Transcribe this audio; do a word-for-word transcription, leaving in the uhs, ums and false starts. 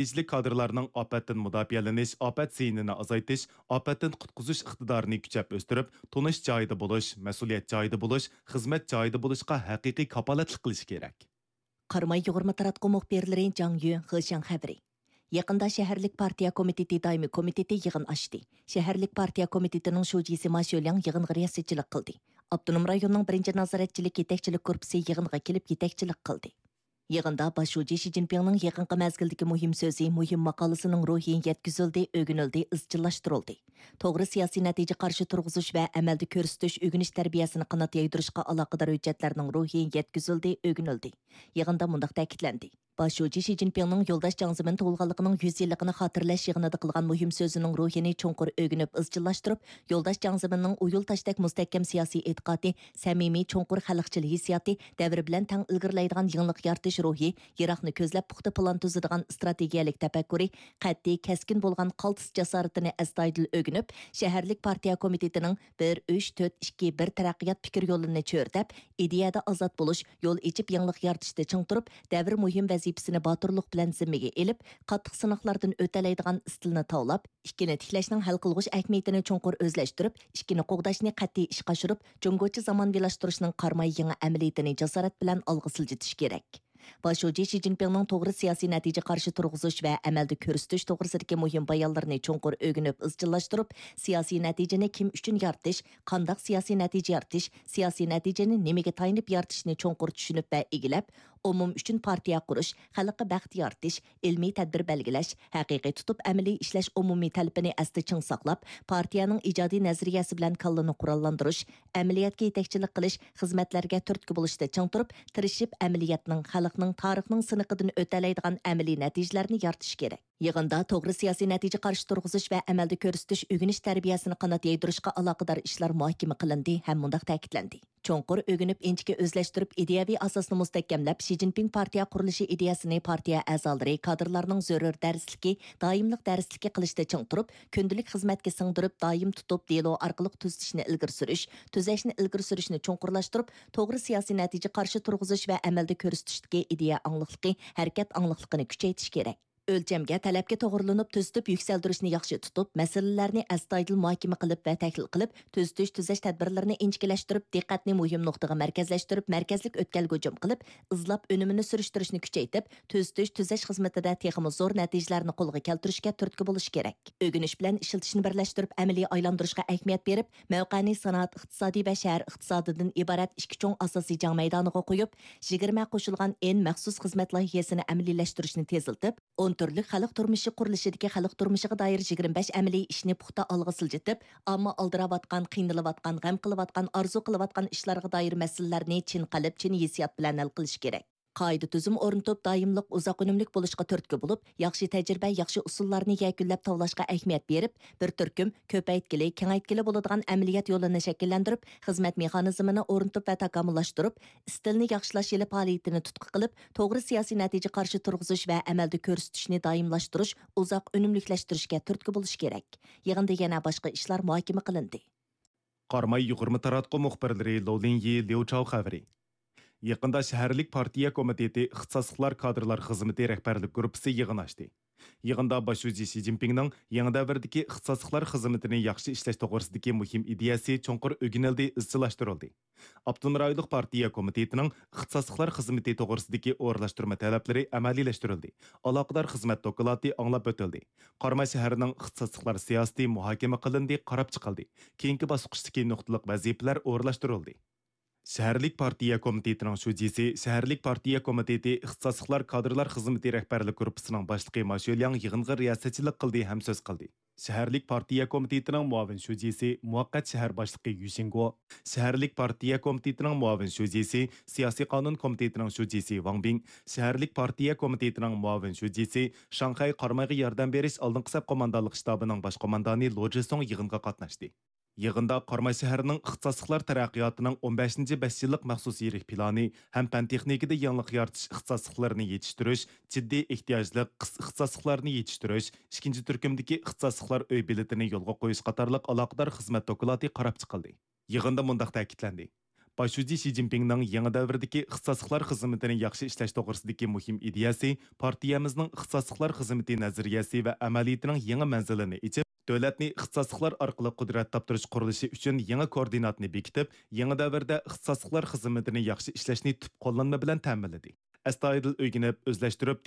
نەتىجىلىك كادىرلارنىڭ ئاپەتتىن مۇداپىئەلىنىش، ئاپەت زىيىنىنى ئازايتىش، ئاپەتتىن قۇتقۇزۇش ئىقتىدارىنى كۈچەپ ئۆستۈرۈپ، تونۇش جايىدا بولۇش، مەسئۇلىيەت جايىدا بولۇش، خىزمەت جايىدا بولۇشقا ھەقىقىي كاپالەتلىك قىلىشى كېرەك. قاراماي يۇغۇرما تاراتقۇ مۇخبىرلىرى جاڭ يۈ، خېشياڭ خەۋىرى. يېقىندا شەھەرلىك پارتىيە كومىتېتى دائىمىي كومىتېتى يىغىن ئاچتى. شەھەرلىك پارتىيە كومىتېتىنىڭ شۇجىسى ما شۆلياڭ يىغىنغا رىياسەتچىلىك قىلدى. ئاپتونوم رايوننىڭ بىرىنچى نازارەتچىلىك يېتەكچىلىك گۇرۇپپىسى يىغىنغا كېلىپ يېتەكچىلىك قىلدى. يىغىندا باش شۇجى شى جىنپىڭنىڭ يېقىنقى مەزگىلدىكى مۇھىم سۆزى، مۇھىم ماقالىسىنىڭ روھى يەتكۈزۈلدى، ئۆگىنىلدى، ئىزچىللاشتۇرۇلدى. توغرا سىياسىي نەتىجە قارشى تۇرغۇزۇش ۋە ئەمەلدە كۆرسىتىش، ئۆگىنىش تەربىيەسىنى قانات يايدۇرۇشقا ئالاقىدار ھۆججەتلەرنىڭ روھى يەتكۈزۈلدى، ئۆگىنىلدى. يىغىندا مۇنداق تەكىتلەندى. باش شۇجى شى جىنپىڭنىڭ يولداش جياڭ زېمىن تۇغۇلغانلىقىنىڭ يۈز يىللىقىنى خاتىرىلەش يىغىنىدا قىلغان مۇھىم سۆزىنىڭ روھىنى چوڭقۇر ئۆگىنىپ ئىزچىللاشتۇرۇپ، يولداش جياڭ زېمىننىڭ ئۇيۇل تاشتەك مۇستەھكەم سىياسىي ئېتىقادى، سەمىمىي، چوڭقۇر خەلقچىل ھېسسىياتى، دەۋر بىلەن تەڭ ئىلگىرىلەيدىغان يېڭىلىق يارىتىش روھى، يىراقنى كۆزلەپ پۇختا پىلان تۈزىدىغان ئىستراتېگىيەلىك تەپەككۇرى، قەتئىي، كەسكىن بولغان قالتىس جاسارىتىنى ئەستايىدىل ئۆگىنىپ، شەھەرلىك پارتىيە كومىتېتىنىڭ بىر ئۈچ تۆت ئىككى بىر تەرەققىيات پىكىر يولىنى چۆرىدەپ، ئىدىيەدە ئازاد بولۇش، يول ئېچىپ يېڭىلىق يارىتىشتا چىڭ تۇرۇپ، دەۋر مۇھىم ۋەزىپىسىنى باتۇرلۇق بىلەن زىممىگە ئېلىپ، قاتتىق سىناقلاردىن ئۆتەلەيدىغان ئىستىلنى تاۋلاپ، ئىككىنى تىكلەشنىڭ ھەل قىلغۇچ ئەھمىيىتىنى چوڭقۇر ئۆزلەشتۈرۈپ، ئىككىنى قوغداشنى قەتئىي ئىشقا ئاشۇرۇپ، جۇڭگوچە زامانىۋىلاشتۇرۇشنىڭ قاراماي يېڭى ئەمەلىيىتىنى جاسارەت بىلەن ئالغا سىلجىتىش كېرەك. باش شۇجى شى جىنپىڭنىڭ توغرا سىياسىي نەتىجە قارشى تۇرغۇزۇش ۋە ئەمەلدە كۆرسىتىش توغرىسىدىكى مۇھىم بايانلىرىنى چوڭقۇر ئۆگىنىپ ئىزچىللاشتۇرۇپ، سىياسىي نەتىجىنى كىم ئۈچۈن يارىتىش، قانداق سىياسىي نەتىجە يارىتىش، سىياسىي نەتىجىنى نېمىگە تايىنىپ يارىتىشنى چوڭقۇر چۈشىنىپ ۋە ئىگىلەپ، ئومۇم ئۈچۈن پارتىيە قۇرۇش، خەلققە بەخت يارىتىش، ئىلمىي تەدبىر بەلگىلەش، ھەقىقىي تۇتۇپ ئەمەلىي ئىشلەش ئومۇمىي تەلىپىنى ئەستە چىڭ ساقلاپ، پارتىيەنىڭ ئىجادىي نەزەرىيەسى بىلەن كاللىنى قوراللاندۇرۇش، ئەمەلىيەتكە يېتەكچىلىك قىلىش، خىزمەتلەرگە تۈرتكە بولۇشتا چىڭ تۇرۇپ، تىرىشىپ ئەمەلىيەتنىڭ، خەلقنىڭ، تارىخنىڭ سىنىقىدىن ئۆتەلەيدىغان ئەمەلىي نەتىجىلەرنى يارىتىش كېرەك. يىغىندا توغرا سىياسىي نەتىجە قارشى تۇرغۇزۇش ۋە ئەمەلدە كۆرسىتىش، ئۆگىنىش تەربىيەسىنى قانات يايدۇرۇشقا ئالاقىدار ئىشلار مۇھاكىمە قىلىندى ھەم مۇنداق تەكىتلەندى. چوڭقۇر ئۆگىنىپ، ئىنچىكە ئۆزلەشتۈرۈپ، ئىدىيەۋى ئاساسنى مۇستەھكەملەپ، شى جىنپىڭ پارتىيە قۇرۇلۇشى ئىدىيەسىنى پارتىيە ئەزالىرى، كادىرلارنىڭ زۆرۈر دەرسلىكى، دائىملىق دەرسلىكى قىلىشتا چىڭ تۇرۇپ، كۈندىلىك خىزمەتكە سىڭدۈرۈپ، دائىم تۇتۇپ، دېلو ئارقىلىق تۈزىتىشنى ئىلگىرى سۈرۈش، تۈزەشنى ئىلگىرى سۈرۈشنى چوڭقۇرلاشتۇرۇپ، توغرا سىياسىي نەتىجە قارشى تۇرغۇزۇش ۋە ئەمەلدە كۆرسىتىشتىكى ئىدىيە ئاڭلىقلىقى، ھەرىكەت ئاڭلىقلىقىنى كۈچەيتىش كېرەك. ئۆلچەمگە، تەلەپكە توغرىلىنىپ تۈزىتىپ يۈكسەلدۈرۈشنى ياخشى تۇتۇپ، مەسىلىلەرنى ئەستايىدىل مۇھاكىمە قىلىپ ۋە تەھلىل قىلىپ، تۈزىتىش، تۈزەش تەدبىرلىرىنى ئىنچىكىلەشتۈرۈپ، دىققەتنى مۇھىم نۇقتىغا مەركەزلەشتۈرۈپ، مەركەزلىك ئۆتكەلگە ھۇجۇم قىلىپ، ئىزلاپ ئۈنۈمىنى سۈرۈشتۈرۈشنى كۈچەيتىپ، تۈزىتىش، تۈزەش خىزمىتىدە تېخىمۇ زور نەتىجىلەرنى قولغا كەلتۈرۈشكە تۈرتكە بولۇش كېرەك. ئۆگىنىش بىلەن ئىشلىتىشنى بىرلەشتۈرۈپ، ئەمەلىي ئايلاندۇرۇشقا ئەھمىيەت بېرىپ، مەۋقەنى سانائەت ئىقتىسادى ۋە شەھەر ئىقتىسادىدىن ئىبارەت ئىككى چوڭ ئاساسىي جەڭ مەيدانىغا قويۇپ، يىگىرمە قوشۇلغان ئېن مەخسۇس خىزمەت لايىھەسىنى ئەمەلىيلەشتۈرۈشنى تېزلىتىپ، ئون تۈرلۈك خەلق تۇرمۇشى قۇرۇلۇشىدىكى خەلق تۇرمۇشىغا دائىر يىگىرمە بەش ئەمەلىي ئىشنى پۇختا ئالغا سىلجىتىپ، ئامما ئالدىراۋاتقان، قىينىلىۋاتقان، غەم قىلىۋاتقان، ئارزۇ قىلىۋاتقان ئىشلارغا دائىر مەسىلىلەرنى چىن قەلب، چىن ھېسسىيات بىلەن ھەل قىلىش كېرەك. قائىدە-تۈزۈم ئورنىتىپ، دائىملىق، ئۇزاق ئۈنۈملۈك بولۇشقا تۈرتكە بولۇپ، ياخشى تەجرىبە، ياخشى ئۇسۇللارنى يەكۈنلەپ تاۋلاشقا ئەھمىيەت بېرىپ، بىر تۈركۈم كۆپەيتكىلى، كېڭەيتكىلى بولىدىغان ئەمەلىيەت يولىنى شەكىللەندۈرۈپ، خىزمەت مېخانىزمىنى ئورنىتىپ ۋە تاكامۇللاشتۇرۇپ، ئىستىلنى ياخشىلاش يىلى پائالىيىتىنى تۇتقا قىلىپ، توغرا سىياسىي نەتىجە قارشى تۇرغۇزۇش ۋە ئەمەلدە كۆرسىتىشنى دائىملاشتۇرۇش، ئۇزاق ئۈنۈملۈكلەشتۈرۈشكە تۈرتكە بولۇش كېرەك. يىغىندا يەنە باشقا ئىشلار مۇھاكىمە قىلىندى. قاراماي يۇغۇرما تاراتقۇ مۇخبىرلىرى لو لىنيى، ليۇ چاۋ خەۋىرى. يېقىندا شەھەرلىك پارتىيە كومىتېتى ئىختىساسلىقلار كادىرلار خىزمىتى رەھبەرلىك گۇرۇپپىسى يىغىن ئاچتى. يىغىندا باش شۇجى شى جىنپىڭنىڭ يېڭى دەۋردىكى ئىختىساسلىقلار خىزمىتىنى ياخشى ئىشلەش توغرىسىدىكى مۇھىم ئىدىيەسى چوڭقۇر ئۆگىنىلدى، ئىزچىللاشتۇرۇلدى. ئاپتونوم رايونلۇق پارتىيە كومىتېتىنىڭ ئىختىساسلىقلار خىزمىتى توغرىسىدىكى ئورۇنلاشتۇرما تەلەپلىرى ئەمەلىيلەشتۈرۈلدى. ئالاقىدار خىزمەت دوكلاتى ئاڭلاپ ئۆتۈلدى. قاراماي شەھىرىنىڭ ئىختىساسلىقلار سىياسىتى مۇھاكىمە قىلىندى، قاراپ چىقىلدى. كېيىنكى باسقۇچتىكى نۇقتىلىق ۋەزىپىلەر ئورۇنلاشتۇرۇلدى. شەھەرلىك پارتىيە كومىتېتىنىڭ شۇجىسى، شەھەرلىك پارتىيە كومىتېتى ئىختىساسلىقلار كادىرلار خىزمىتى رەھبەرلىك گۇرۇپپىسىنىڭ باشلىقى ما شۆلياڭ يىغىنغا رىياسەتچىلىك قىلدى ھەم سۆز قىلدى. شەھەرلىك پارتىيە كومىتېتىنىڭ مۇئاۋىن شۇجىسى، مۇۋەققەت شەھەر باشلىقى يۈ شىنگو، شەھەرلىك پارتىيە كومىتېتىنىڭ مۇئاۋىن شۇجىسى، سىياسىي قانۇن كومىتېتىنىڭ شۇجىسى ۋاڭ بىڭ، شەھەرلىك پارتىيە كومىتېتىنىڭ مۇئاۋىن شۇجىسى، شاڭخەي قارامايغا ياردەم بېرىش ئالدىنقى سەپ قوماندانلىق شتابىنىڭ باش قوماندانى لو جىسۇڭ يىغىنغا قاتناشتى. يىغىندا قاراماي شەھىرىنىڭ ئىختىساسلىقلار تەرەققىياتىنىڭ ئون بەشىنچى بەش يىللىق مەخسۇس يىرىك پىلانى ھەم پەن تېخنىكىدا يېڭىلىق يارىتىش ئىختىساسلىقلىرىنى يېتىشتۈرۈش، جىددىي ئېھتىياجلىق قىس-، ئىختىساسلىقلارنى يېتىشتۈرۈش، ئىككىنچى تۈركۈمدىكى ئىختىساسلىقلار ئۆي بېلىتىنى يولغا قويۇش قاتارلىق ئالاقىدار خىزمەت دوكلاتى قاراپ چىقىلدى. يىغىندا مۇنداق تەكىتلەندى: باش شۇجى شى جىنپىڭنىڭ يېڭى دەۋردىكى ئىختىساسلىقلار خىزمىتىنى ياخشى ئىشلەش توغرىسىدىكى مۇھىم ئىدىيەسى پارتىيەمىزنىڭ ئىختىساسلىقلار خىزمىتى نەزەرىيەسى ۋە ئەمەلىيىتىنىڭ يېڭى مەنزىلىنى ئېچىپ، دۆلەتنى ئىختىساسلىقلار ئارقىلىق قۇدرەت تاپتۇرۇش قۇرۇلۇشى ئۈچۈن يېڭى كوئوردىناتنى بېكىتىپ، يېڭى دەۋردە ئىختىساسلىقلار خىزمىتىنى ياخشى ئىشلەشنى تۈپ قوللانما بىلەن تەمىنلىدى. ئەستايىدىل ئۆگىنىپ، ئۆزلەشتۈرۈپ،